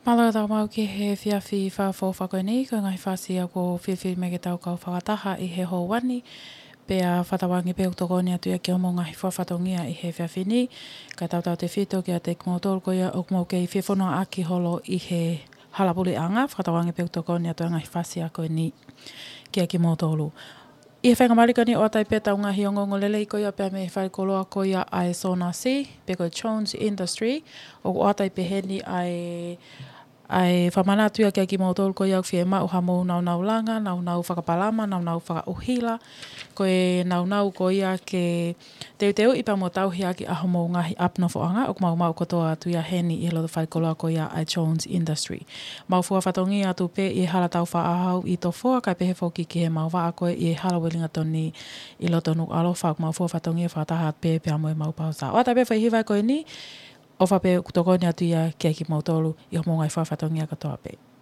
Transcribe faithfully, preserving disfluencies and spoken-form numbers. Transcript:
Mālō e tau maʻu ki he efiafi fakaʻofoʻofa ko eni, ko e ngaahi fasi ʻoku ou fifili mai ke tau kau fakataha ʻi he houa ni, pea fakatauange pē ʻoku tokoni atu ia ki hoʻomou ngaahi fakafatongia ʻi he efiafi ni, kae tautautefito kiate kimoutolu ko ia ʻoku mou kei fie fononga ʻaki holo ʻi he hala puleʻanga, fakatauange pē ʻoku tokoni atu e ngaahi fasi ko eni kiate kimoutolu. ʻI he faingamālie ko eni ʻoatu ai pē ʻetau ngaahi ongoongolelei ko ia pea mei he falekoloa ko ia ʻa e Sonasi, pe ko e Jones Industry, ʻoku ʻoatu ai pē heni ʻa e, ʻa e fakamanatu ia kiate kimoutolu ko ia ʻoku fiemaʻu haʻamou naunau langa, naunau fakapalama, naunau fakaʻuhila, ko e naunau ko ia ke teuteuʻi pea mo tauhi ʻaki ʻa hoʻomou ngaahi ʻapi nofoʻanga, ʻoku mau maʻu kotoa atu ia heni ʻi he loto falekoloa ko ia ʻa e Jones Industry. Mau fua fatongia atu pē ʻi he hala tau faʻahau ʻi Tofoa, kae pehē foki ki he mau vaʻa ko ē ʻi he hala Uelingatoni ʻi loto Nukuʻalofa, ʻoku mau fua fatongia fakataha pē pea mo e mau pausa. ʻOatu ai pē foʻi hiva ko eni, ʻofa pē ʻoku tokoni atu ia kiate kimoutolu ʻi hoʻomou ngaahi fua fatongia kotoa pē.